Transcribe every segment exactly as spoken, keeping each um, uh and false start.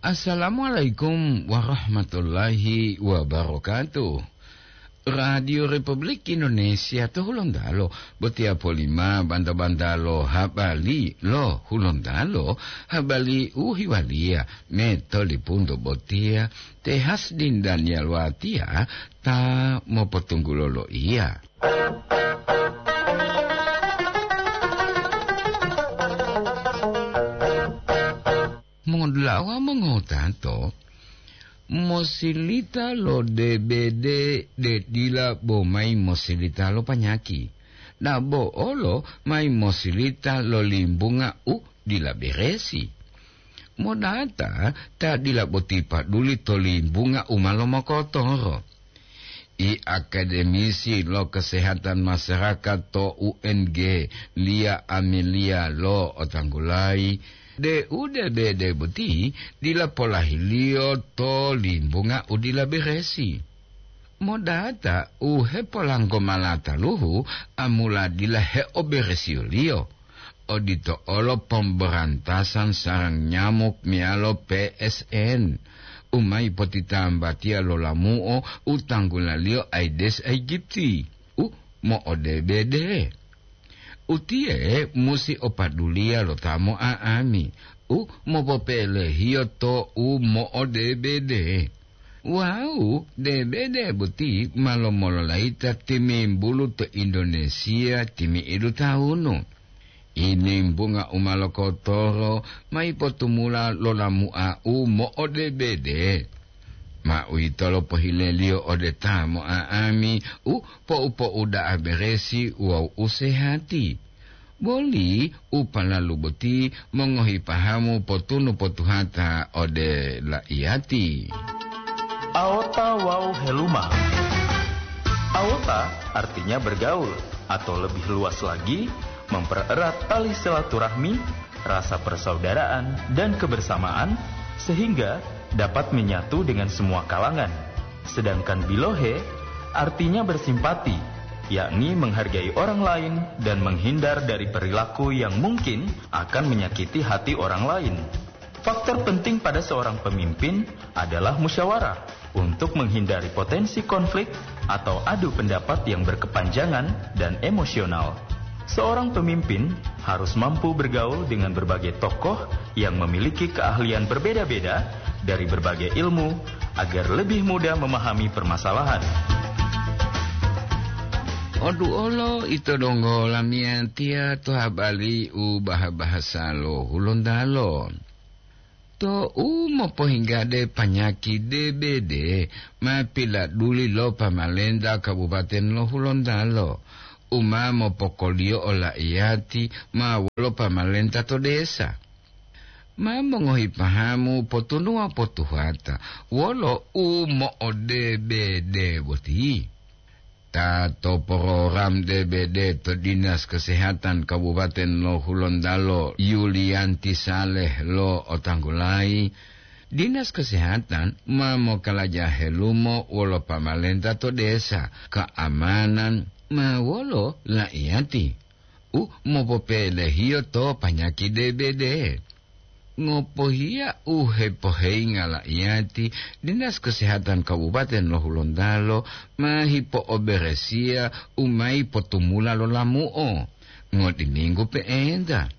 Assalamualaikum warahmatullahi wabarakatuh. Radio Republik Indonesia to Hulontalo, botiya polima banta-banta lo habari lo Hulontalo, habari u hiwaliya me to lipunto botiya, te Hasdin Daniel Watia ta mopotunggulo lo iya. Mongodulawa mongotato, mosilita lo D B D de dila bo mayi mosilita lo panyaki, dabo olo mayi mosilita lo limbunga u dila beresi. Modata ta dila boti paduli to limbunga u ma lomokotoro. I akademisi lo kesehatan masyarakat to U N G, Lia Amelia, lo otanggulayi de u D B D boti dila polahiliyo to limbunga u dila beresi. Modata u hepolanggo malataluhu amula dila heoberesiyoliyo. Odito olo pemberantasan sarang nyamuk meyalo P S N, u mayi potitambatiya lo lamu'o u tanggulaliyo Aedes aegypti, u mo'odebede. Utiye musi opaduliya lo ta mo'a'ami, u mopopelehiyo to u mo'odebede. Wawu debede boti ma lomololayita timimbulu to Indonesia timi'idu tawunu. Inimbunga u ma lokotoro mayi potumula lo lamu'a u mo'odebede. Ma uwitolo pohileliyo ode ta mo'a'ami u po'u-po'u da'a beresi wawu u sehati. Boli u palalu boti mongohi pahamu potunu potuhata ode la'iyati. Aota wawu heluma. Aota artinya bergaul, atau lebih luas lagi, mempererat tali silaturahmi, rasa persaudaraan, dan kebersamaan, sehingga dapat menyatu dengan semua kalangan. Sedangkan bilohe artinya bersimpati, yakni menghargai orang lain dan menghindar dari perilaku yang mungkin akan menyakiti hati orang lain. Faktor penting pada seorang pemimpin adalah musyawarah untuk menghindari potensi konflik atau adu pendapat yang berkepanjangan dan emosional. Seorang pemimpin harus mampu bergaul dengan berbagai tokoh yang memiliki keahlian berbeda-beda dari berbagai ilmu agar lebih mudah memahami permasalahan. Odu olo ito donggo lamiyatiya to habari u baha-bahasa lo Hulontalo. To u mopohinggade panyaki D B D ma piladuli lo pamalenta Kabupaten lo Hulontalo, u ma mopokoliyo ola'iyati ma wolo pamalenta to desa. Ma mongohi pahamu potunuwa potuhata wolo u mo'o-D B D boti. Ta to program D B D to Dinas Kesehatan Kabupaten lo Hulontalo, Yulianti Saleh, lo otanggulayi, Dinas Kesehatan ma mokalaja helumo wolo pamalenta to desa, keamanan ma wolo la'iyati u mopopelehiyo to panyaki D B D. Ngopohiya u hepoheyinga la'iyati, Dinas Kesehatan Kabupaten lo Hulontalo ma hipo'oberesiya u mayi potumula lo lamu'o ngotiminggu pe'enta.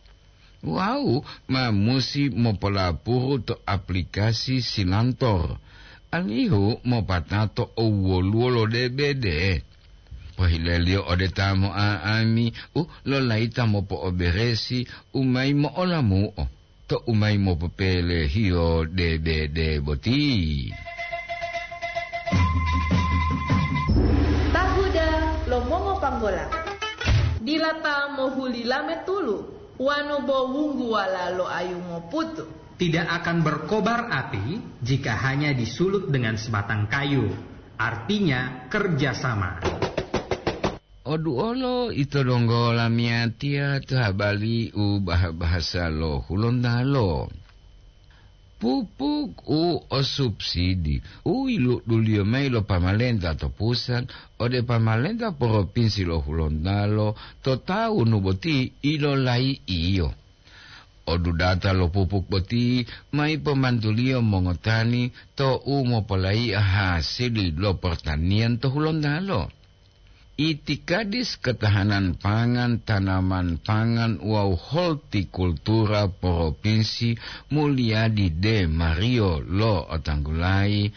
Wawu ma musi mopolapuru to aplikasi Silantor, alihu mopatato owoluwo lo D B D. Pohileliyo ode ta mo'a'ami u lolayita mopo'oberesi u mayi mo'olamu'o to u mayi mopopelehiyo D B D boti. Tahuda lo mongopanggola. Dila ta mohuli lame tulu, wanu bo wungguwala lo ayu moputu. Tidak akan berkobar api jika hanya disulut dengan sebatang kayu, artinya kerjasama. Oduolo ito donggo lamiyatiya to habari u baha-bahasa lo Hulontalo. Pupuk u o subsidi u iluduliyo mayi lo pamalenta to pusat ode pamalenta poropinsi lo Hulontalo to tawunu boti ilolayi'iyo. Odudata lo pupuk boti ma ipomantuliyo mongotani to u mopolaiya hasili lo portaniyan to Hulontalo. Itikadis Ketahanan Pangan, Tanaman Pangan wawu Hortikultura Propinsi Mulyadi De Mario lo'otanggulayi,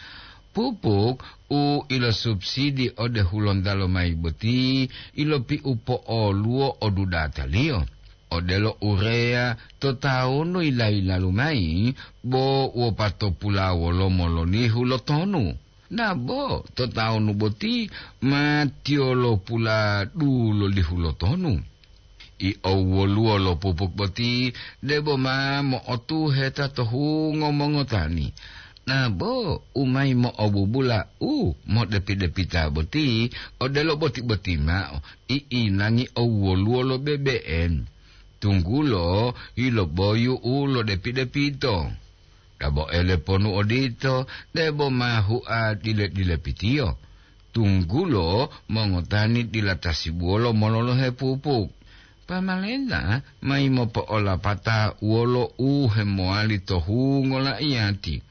pupuk u ilosubsidi ode Hulontalo mayi boti ilopiupo'oluwo odudataliyo, odelo urea to tawunu yila-yilalu mayi bo wopatopula wolomo lolihu lo tonu. Nabo to tawunu boti ma tiyolopula dulolihu lo tonu. I owwoluwo lo pupuk boti debo ma mo'otuheta to hungo mongotani. Nabo u mayi mo'obubula u modepi-depita boti odelo boti-boti mao i inangi owwoluwo lo bebe'en, tunggulo yiloboyu u lodepi-depito. Dabo ele ponu odito, debo ma hua dile-dilepitiyo, tunggulo mongotani dila tasibuwolo mololohe pupuk. Pamalenta mayi mopo'olapata wolo u hemowali to hungo la'iyati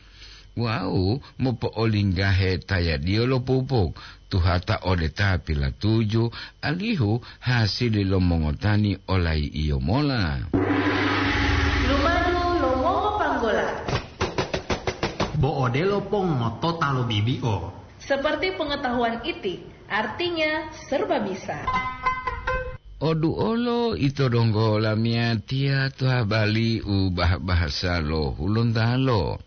wawu mopo'olinggahe tayadiyo lo pupuk, tuhata ode ta pilatuju, alihu hasili lo mongotani olayi'iyo mola. Lumadu lo mongopanggola. Bo odelo pongotota lo bibi'o. Seperti pengetahuan iti, artinya serba bisa. Oduolo ito donggo lamiyatiya to habali u bah-bahasa lo Hulontalo.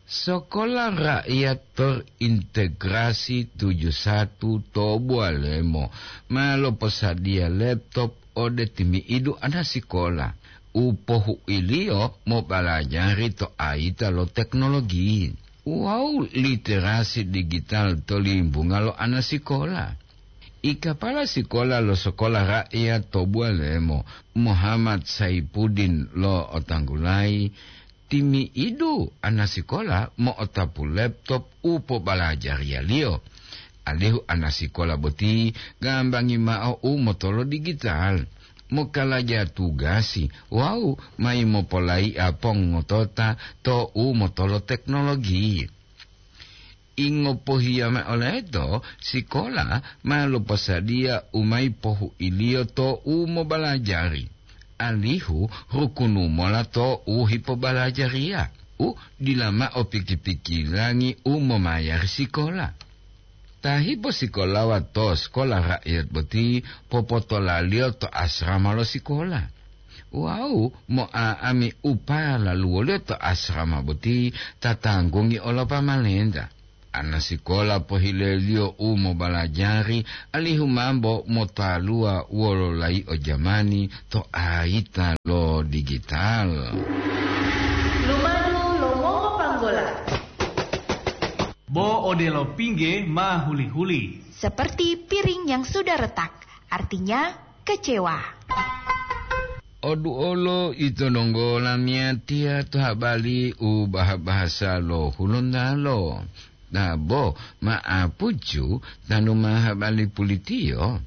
Sokola Rakyat Terintegrasi tujuh satu to Bualemo ma loposadiya laptop ode timi'idu anasikola u pohuiliyo mobalajari to ayita lo teknologi wawu literasi digital to limbunga lo anasikola. I kapala sikola lo Sokola Rakyat to Bualemo, Muhammad Saipuddin lo'otanggulayi, timi'idu anasikola mo'otapu laptop u pobalajariyaliyo, alihu anasikola boti gambangi mao u motolo digital, mokalaja tugasi wawu mayi mopolaiya pongotota to u motolo teknologi. Ingopohiya mao leto, sikola ma loposadiya u mayi pohuiliyo to u mobalajari, alihu rukunu mola to u hipobalajariya, u dila mao piki-pikilangi u momayari sikola. Ta hiposikolawa to Sekolah Rakyat boti popotolaliyo to asrama lo sikola. Wawu mo'a'ami u palaluwoliyo to asrama boti ta tanggungi olo pamalenta. Anasikola pohileliyo u mobalajari alihu mambo motaluwa wolo layi'o jamani to ayita lo digital. Lumadu lo mongopanggola. Bo odelo pingge ma huli-huli. Seperti piring yang sudah retak, artinya kecewa. Oduolo ito donggo lamiyatiya to habali u baha-bahasa lo Hulontalo. Nabo ma'apucu tanu ma habali pulitiyo.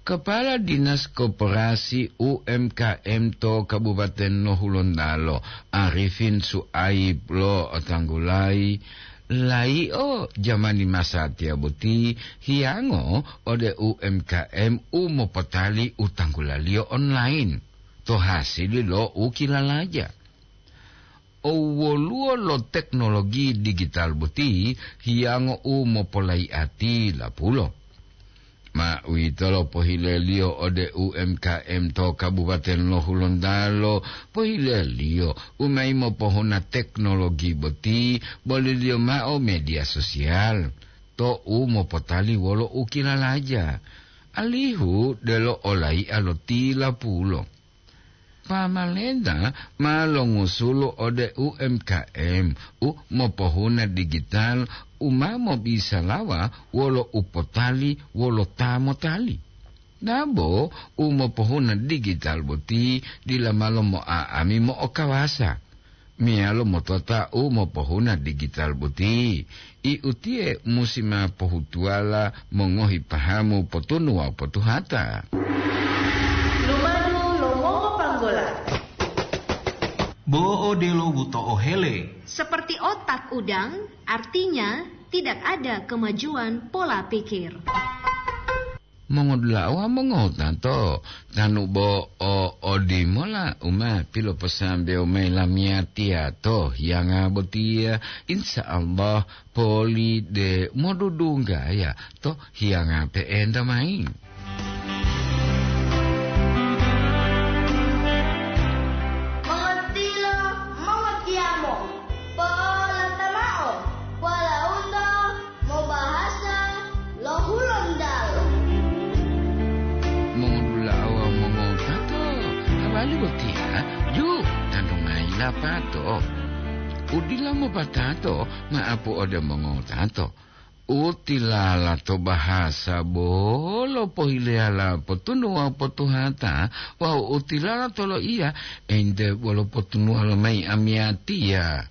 Kepala Dinas Koperasi U M K M to Kabupaten lo Hulontalo, Arifin Suaib lo'otanggulayi, layi'o jamani masatiya boti hiyango ode U M K M u mopotali u tanggulaliyo online to hasili lo u kilalaja. Owoluwo lo teknologi digital boti hiyango u mopolaiati lapulo. Ma uwitolo pohileliyo ode U M K M to Kabupaten lo Hulontalo, pohileliyo u mayi mopohuna teknologi boti, boliliyo mao media sosial, to u mopotali wolo u kilalaja, alihu delo olaiya lo tilapulo. Pamalenta ma longusulo ode U M K M u mopohuna digital u ma mobisalawa wolo u potali wolo ta motali. Dabo u mopohuna digital boti dila malo mo'a'ami mo'okawasa meyalo motota u mopohuna digital boti. I utiye musi ma pohutuwala mongohi pahamu potunu wawu potuhata. Lumadu lo mongopanggola. Bo odelo buto'o hele. Seperti otak udang, artinya tidak ada kemajuan pola pikir. Mongodula'a mongota to, tanu bo o odimola uma piloposambewo mayi lamiyatiya to hiyanga botiya, insya Allah poli de modudunggaya to hiyanga pe'enta mayi. Mongotilo, mongotiyamo, po'olata mao, walauto mobahasa lo Hulontalo. Mongodula'a wawu mongotato, habari botiya, ju, tantu mayi lapato. Udila mopatato, ma'apu ode mongotato. Utilala to bahasa bolo pohileyala potunuwa potuhata, wawu utilala to loiya ente bolo potunuwa lomayi amiyatiya.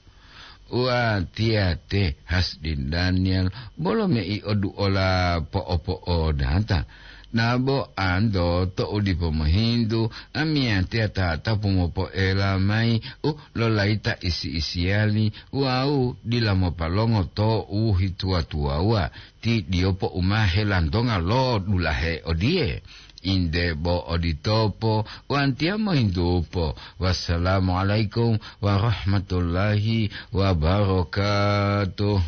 Watiya te Hasdin Daniel bolo mei oduola po'opo'odata. Nabo anto to'u dipo mohintu, amiyatiya tatapu mopoela mayi u lolayita isi-isiyali wawu dila mopalongo to u hituwa-tuwawuwa, ti diyopo u ma helantonga lo dulahe odiye. Inde bo oditopo, watiya mohintupo. Wassalamualaikum warahmatullahi wabarakatuh.